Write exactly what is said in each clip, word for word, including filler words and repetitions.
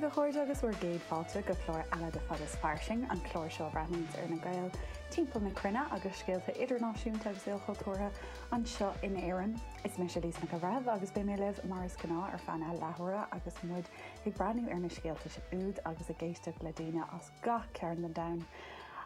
a chairde agus bhur gcéad fáilte go clár eile de Fad is Fairsing, an clár seo a bhreathnaíonns ar na Gaeil timpeall na cruinne agus scéalta idirnáisiúnta agus ilchultúrtha anseo in Éirinn. Is mise Lisa Nic an Bhreithimh agus beidh mé libh mar is gnáth ar feadh na leathuaire agus muid ag breathnú ar na scéalta úd agus ag éisteacht le daoine as gach cearn den domhan.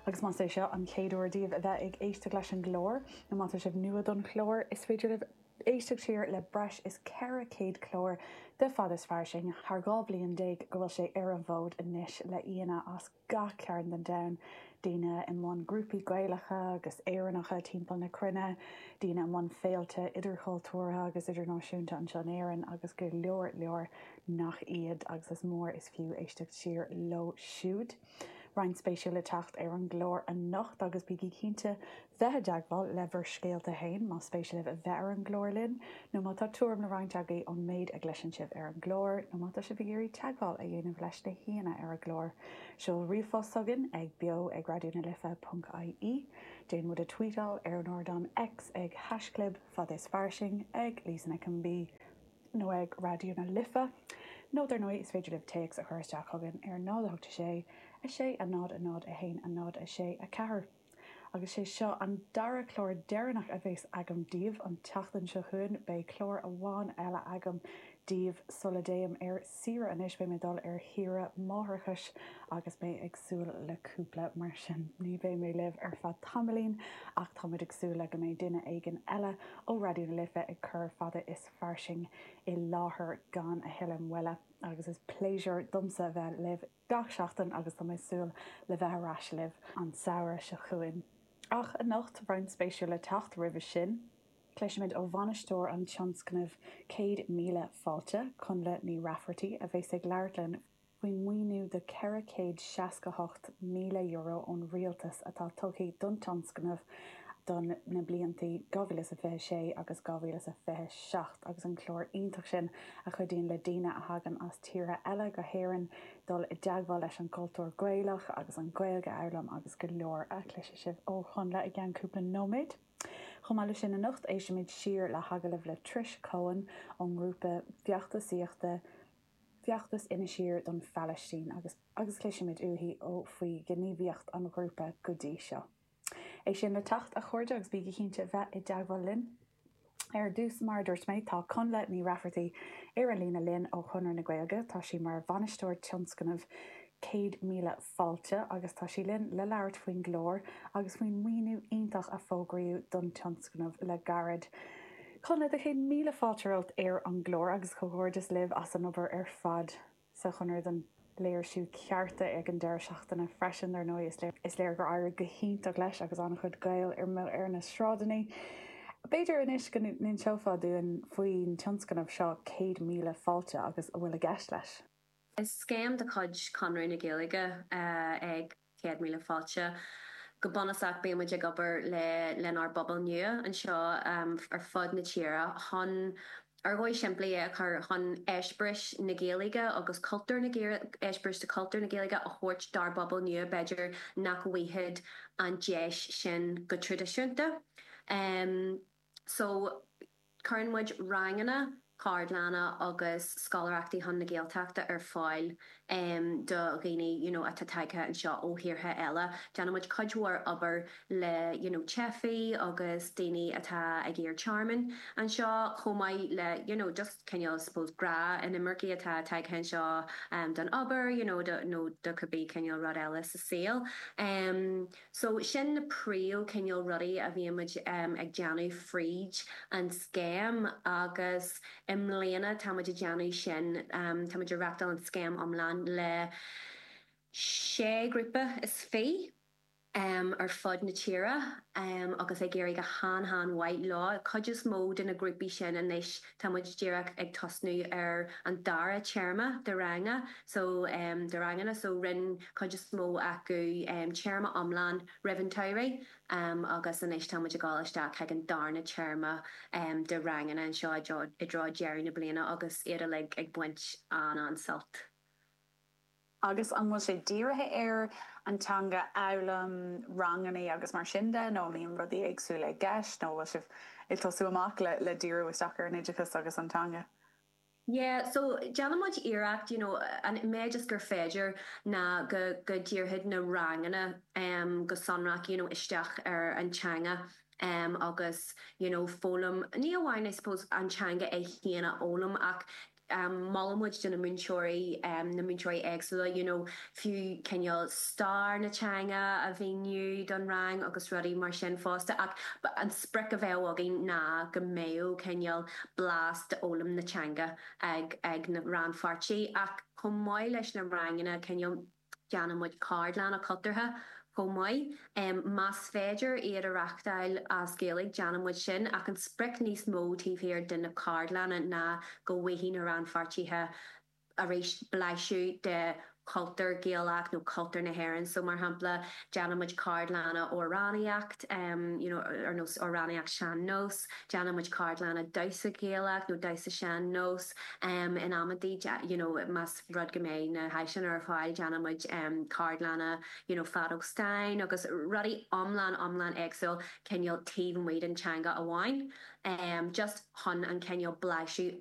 Agus más é seo an chéad uair daoibh a bheith ag éisteacht leis an gclár, nó má tá sibh nua don chlár, is féidir libh éisteacht siar le breis is ceithre chéad clár de Fad is Fairsing thar dhá bhliain déag go bhfuil sé ar an bhfód anois le haíonna as gach cearn den domhan, daoine i mbun grúpaí Gaelacha agus Éireannacha timpeall na cruinne, daoine i mbun féilte idirchultúrtha agus idirnáisiúnta anseo in Éirinn agus go leor leor nach iad agus is mór is fiú éisteacht siar leo siúd. Roinnt spéisiúil le teacht ar an gclár anocht agus bígí cinnte bheith i dteagmháil le bhur scéalta féin más spéis libh a bheith ar an gclár linn, nó má tá tuairim le roinnt agaibh ón méid a gcloiseann sibh ar an gclár, nó má tá sibh ag iarraidh teagmháil a dhéanamh leis na haíonna ar an gclár. Seol ríomhphost chugainn ag beo ag raidió na life ponc ie, déan muid a tweetáil ar an ardán X ag haischlib fad is fairsing ag Lisa Nic an B. nó ag Raidió na Life, nó dar ndóigh is féidir libh téacs a chur isteach chugainn ar náid a hocht a sé, a sé, a náid, a náid, a haon, a náid, a sé, a ceathair. Agus sé seo an dara clár deireanach a bheas agam daoibh an tseachtain seo chugainn, beidh clár amháin eile agam daoibh sula dtéim ar saoire anois, beidh mé ag dul ar shaoire máithreachais agus mé ag súil le cúpla, mar sin ní bheidh mé libh ar feadh tamaillín ach táimid ag súil le go mbeidh duine éigin eile ó Raidió na Life ag cur Fada is Fairsing i láthair gan a thuilleadh moille agus is pléisiúr domsa a bheith libh gach seachtain agus tá mé ag súil le bheith ar ais libh an samhradh seo chugainn. Ach anocht, roinnt spéisiúil le teacht roimhe sin, cloisfimid ó bhainisteoir an tionscnaimh Céad Míle Fáilte, Connla Ní Raifeartaigh, a bheas ag labhairt linn faoin maoiniú de ceithre chéad seasca hocht míle euro ón rialtas atá tugtha don tionscnamh don na blianta dhá mhíle is a fiche sé agus dhá mhíle is a fiche seacht agus an clár iontach sin a chuidíonn le daoine a thagann as tíortha eile go hÉirinn dul i dteagmháil leis an gcultúr Gaelach agus an Ghaeilge a fhoghlaim agus go leor a chloisfidh sibh ó Chonnla i gceann cúpla nóiméad. Chomh maith leis sin anocht éistfimid siar le hagallamh le Trish Coen ón ngrúpa feachtasaíochta Feachtas Inis Oírr don Phalaistín agus agus cloisfimid uaithi ó faoi ghníomhaíocht an ghrúpa go dtí seo. É sin le teacht, a chairde, agus bígí cinnte bheith i dteagmháil linn. Ar dtús, mar a dúirt mé, tá Connla Ní Raifeartaigh ar an líne linn ó Chonradh na Gaeilge. Tá sí mar bhainisteoir tionscnamh Céad Míle Fáilte agus tá sí linn le labhairt faoin gclár agus faoin maoiniú iontach a fógraíodh don tionscnamh le gairid. Connla, do chéad míle fáilte romhat ar an gclár agus comhghairdeas libh as an obair ar fad sa Chonradh don léirsiú cearta ag an deireadh seachtaine freisin, dar ndóigh. Is léir gur éirigh go hiontach leis agus an-chuid Gael ar na sráideanna. B'fhéidir anois go n-inseofá dúinn faoin tionscnamh seo Céad Míle Fáilte agus a bhfuil i gceist leis. Is scéim de chuid Chonradh na Gaeilge é Céad Míle Fáilte. Go bunúsach bíonn muid ag obair le lenár bpobal nua anseo ar fud na tíre chun, ar dhóigh simplí é a chur, chun eispéiris na Gaeilge agus cultúr na eispéiris de chultúr na Gaeilge a thabhairt dár bpobal nua b'fhéidir nach bhfaigheadh an deis sin go traidisiúnta. So cuireann muid ranganna, ceardlanna agus scoláireachtaí chun na Gaeltachta ar fáil do dhaoine you know atá tagtha anseo ó thíortha eile. Déanann muid cuid mhór obair le you know teifigh agus daoine atá ag iarraidh tearmainn anseo chomh maith le you know just cineál suppose gnáth-inimircigh atá tagtha anseo don obair you know do nó do cibé cineál rud eile sa saol. So sin na príomh cineál rudaí a bhíonn muid ag déanamh fríd an scéim agus i mbliana tá muid ag déanamh sin, tá muid ag reachtáil an scéim iomlán le sé grúpa is fiche ar fud na tíre agus ag éirí go han-han-mhaith leo. Cuid is mó de na grúpaí sin anois tá muid díreach ag tosnú ar an dara téarma de ranga so de ranganna so rinne cuid is mó acu téarma iomlán roimh an tsamhradh agus anois tá muid ag dul isteach chuig an darna téarma de ranganna anseo i dtreo deireadh na bliana agus iad uilig ag baint an-an-sult. Agus an bhfuil sé dírithe ar an teanga a fhoghlaim, ranganna agus mar sin de, nó an mbíonn rudaí éagsúla i gceist, nó bhfuil sibh ag tosú amach le le díriú isteach ar an oideachas agus an teanga? Yeah, so déanaimid iarracht you know, an méid is gur féidir ná go go ndíreoidh na ranganna um, go sonrach you know, isteach ar an teanga um, agus you know, foghlaim ní amháin I suppose an teanga é féin a fhoghlaim ach um, molaimid do na múinteoirí um, na múinteoirí éagsúla you know, fiú cineál stair na teanga a mhíniú don rang agus rudaí mar sin fosta ach an sprioc a bheadh againn ná go mbeadh cineál blas d'fhoghlaim na teanga ag ag na rannpháirtithe ach chomh maith leis na ranganna cineál déanaimid ceardlanna cultúrtha chomh maith. Um, más féidir iad a reáchtáil as Gaeilge déanaimid sin ach an sprioc níos mó taobh thiar de na ceardlanna ná go bhfaighidh na rannpháirtithe arís blaiseadh de chultúr Gaelach nó cultúr na hÉireann, so mar shampla déanaimid ceardlanna amhránaíocht um, you know, ar nós amhránaíocht sean-nós, déanaimid ceardlanna damhsa Gaelach nó damhsa sean-nós um, in amantaí you know, más rud go mbeidh na háiseanna ar fáil déanaimid um, ceardlanna you know, feadóg stáin agus rudaí iomlán iomlán éagsúil cineál taobh amuigh den teanga amháin. Um, just chun an cineál blaiseadh